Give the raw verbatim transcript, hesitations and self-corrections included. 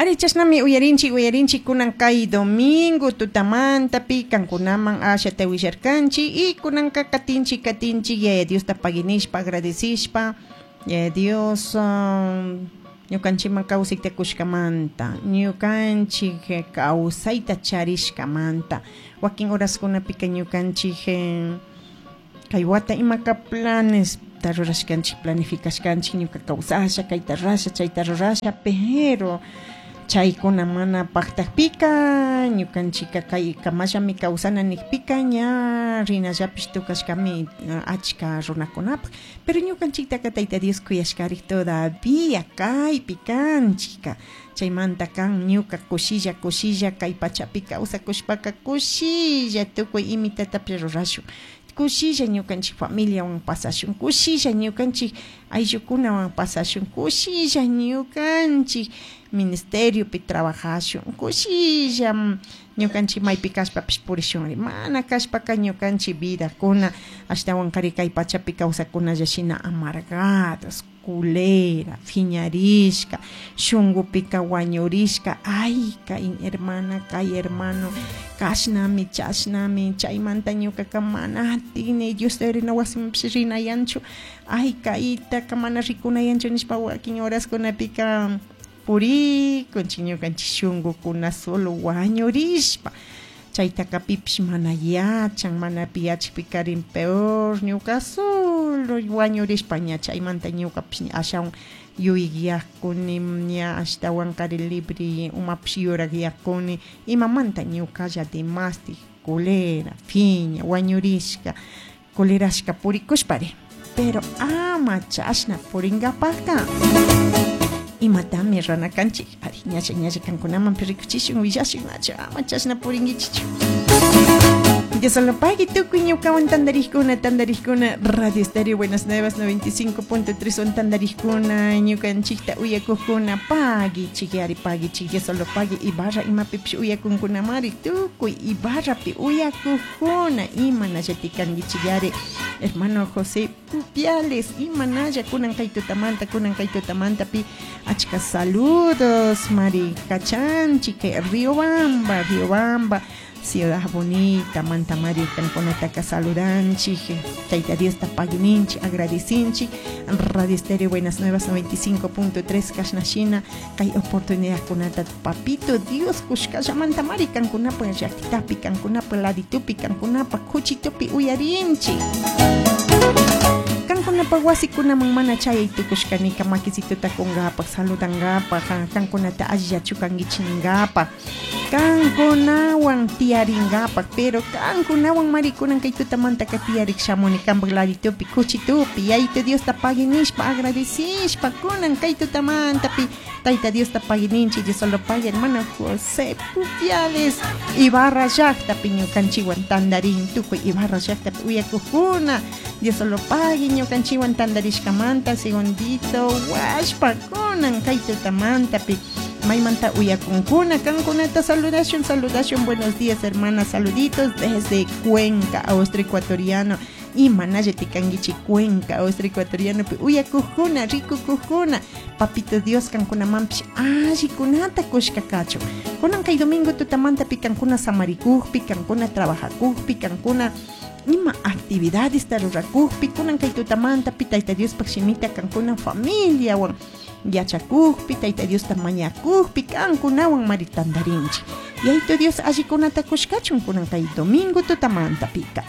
Ari chashnami uyarinchik, uyarinchik kunan kay domingo tutamantapi kankunaman ashata willarkanchik y kunanka katinchik, katinchik Yaya Diosta paginishpa, agradecishpa Yaya Dios um, ñukanchikman kawsayta kushkamanta, ñukanchik kawsayta charishkamanta, wakin horaskunapika ñukanchik eh, kay wata imaka planes ta rurashkanchik, planificashkanchik ñuka kawsasha, kayta rurasha, chayta rurasha, pero chaykuna mana paktakpika ñukanchika kay kamallami kawsana nikpika ña rinallapish tukashkami achka runakunapak, pero ñukanchiktaka Tayta Dios kuyashkarik todavía kaypi kanchika, chaymanta kan ñuka kushilla kushilla kay pachapi kawsakushpaka kushilla tukuy imitatapish rurashun, kushilla ñukanchik familiawan pasashun, kushilla ñukanchik ayllukunawan pasashun, kushilla ñukanchik ministeriopi trabajashun, kushilla ñukanchik maypi kashpapish purishunri, mana kashpaka ñukanchik vidakuna ashtawan kari kay pachapi kawsakunalla shina amargados, culera, phiñarishka, shungupika wañurishka, ay kay hermana, kay hermano, kashnami, chashnami, chaymanta ñukaka mana atini Diosta rina wasimanpish rinayanchu, ay kaytaka mana rikunayanchu nishpa wakin horaskunapika purikunchik ñukanchik shungukuna solo wañurishpa, chaytaka pipish mana yachan, mana pi yachakpikarin peor ñuka solo wañurishpa ña chaymanta ñukapish ashawan yuyakuni ña ashtawan kari libre umapish yurakyakuni imamanta ñukalla demastik culera, phiña, wañurishka, culerashka purikushpari, pero ama chashna purinkapakka imatami rana kanchik, ari ñalla ñalla kankunaman rikuchishun willashun nachu ama chashna purinkichichu. Dios lo pague tukuy ñukawan tantarikuna, tantarikuna Radio Estéreo Buenas Nuevas noventa y cinco punto tres son tantarikuna ñukanchikta uyakukuna paguichik yari paguichik Dios lo pague Ibarra imapipish uyakunkunamari tukuy Ibarrapi uyakukuna imanallati kankichik yari hermano José Pupiales imanalla kunan kay tutamanta kunan kay tutamantapi achka saludos mari kachanchik Riobamba, Riobamba Ciudad Bonita, Manta Mari, kankunataka saludanchik, Tayta Diosta paguininchik, agradecinchik, Radio Estéreo Buenas Nuevas noventa y cinco punto tres, kashnashina, kay oportunidad kunata, papito Dios, kushkalla Manta Mari, kankunapa llaqtitapi, kankunapa laditupi, kankunapa kuchitupi uyarinchik. Kankunapa wasikunaman mana chayay tukushkanika makisituta kungapak, saludangapak, kankunata allillachu kankichiningapak, kankunawan tiyaringapak, pero kankunawan marikunan kay tutamantaka tiyarik shamuni kanpak laditupi, kuchitupi, yayito Diosta paguinishpa, agradecishpa, kunan kay tutamantapi, Tayta Diosta paguininchi, Dios solo pague, hermano José Pupiales, Ibarra llaqtapi ñukanchiwan tandarin, tukuy Ibarra llaqtapi uyakukuna, Dios solo pague, ñukanchiwan tandarishkamanta, segundito, washpa, kunan kay tutamantapi, maymanta uyakunkuna, kankunata saludashun, saludashun, buenos días hermana, saluditos desde Cuenca, Austria ecuatoriano, imanalla tikankichi Cuenca, Austria ecuatoriano, pi uyakukuna, rikukukuna, papito Dios kankunamanpish allikunata kushka kachun, kunan kay domingo tutamanta pi kankuna samarikukpi, kankuna trabajakukpi, kankuna ima actividades rurakukpi, kunan kay tutamanta pi Tayta Diospaj shimita kankuna familiawan yachakukpi, Tayta Diosta mañakukpi, kankunawan mari tantarinchik. Yayto Dios allikunata kushkachun kunan kay domingo tutamanta pika.